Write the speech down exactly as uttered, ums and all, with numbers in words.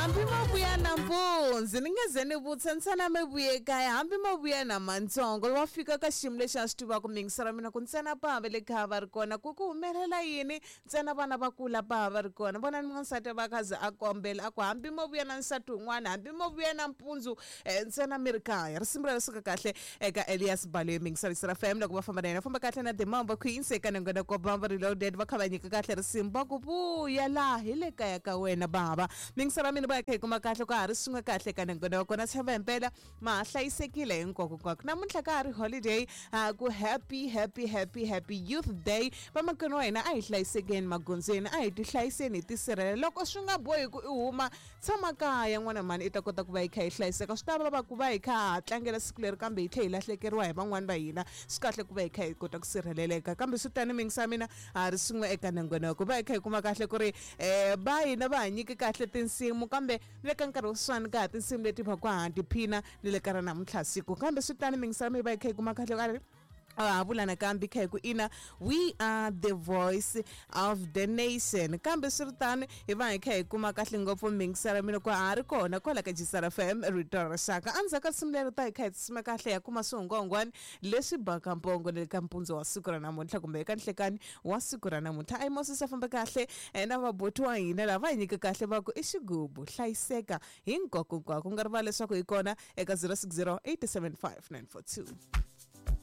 Hambi mo vuya nampundzu ni nge ze ni vutisa ntsena mi vuye kaya hambi mo vuya na mantsongo wa fika ka xiyimo lexi a swi tivaka miyingiselo mina ku ntsena bava le kha va ri kona ku ku humelela yini ntsena vana va kula bava va ri kona vona ni n'wansati va kha ze a kombela a ku hambi mo vuya na nsati wun'wana hambi mo vuya nampundzu eh, ntsena mi ri kaya risimu ra suka kahle eka Elias Baloyi miyingiselo F M loko va famba na yena famba kahle na The Mambo Queens eka nongonoko Bamba Reloaded va kha va nyika kahle risimu va ku vuya laha hi le kaya ka wena bava miyingiselo mina va kha hi kuma kahle ka ha ri swin'we kahle ka nongonoko na tshemba himpela ma ha hlayisekile hinkwako kwako namuntlha ka ha ri holiday uh, ku happy happy happy happy Youth Day. Vamakwenu wa hina, a hi hlayisekeni magondzweni, a hi tihlayiseni, hi tisirhelela. Loko swi nga bohi ku i huma, tshama kaya n'wana mhani, i ta kota ku va hi kha hi hlayiseka. Swi ta vava ku va hi kha ha tlangela siku leri kambe hi tlhe hi lahlekeriwa hi van'wani va hina. Swi kahle ku va hi kha hi kota ku sirheleleka. Kambe swi tani mingisa mina ha ri swin'we eka nongonoko va hi kha hi kuma kahle ku ri um va hina va ha nyiki kahle tinsimu, kambe ni le ka nkarhi wa sweswiwani ka ha tinsimu leti va ku ha tiphina ni le ka ra namuntlha siku. Kambe swi tani mingisa mi va hi kha hi kuma kahle ka ri ha vula nakambe kha hi ku ina, we are the voice of the nation. Kambe swi ri tano hi va hi kha hi kuma kahle ngopfu mingisela mina ku ha ri kona kwala ka Jisara F M, rito ra rixaka. Endzhaku ka risimu leri ta hi kha hi tsima kahle ya kuma swihungwahungwani leswi baka mpongo le ka mpundzu wa siku ra namuntlha kumbe eka nhlekani wa siku ra namuntlha. A yi mosisa famba kahle eh, na vaboti wa hina lava hi nyika kahle va ku i xigubu hlayiseka hinkwako hinkwako. Ku nga rivali leswaku hi kona eka zero six zero eight seven five nine four two.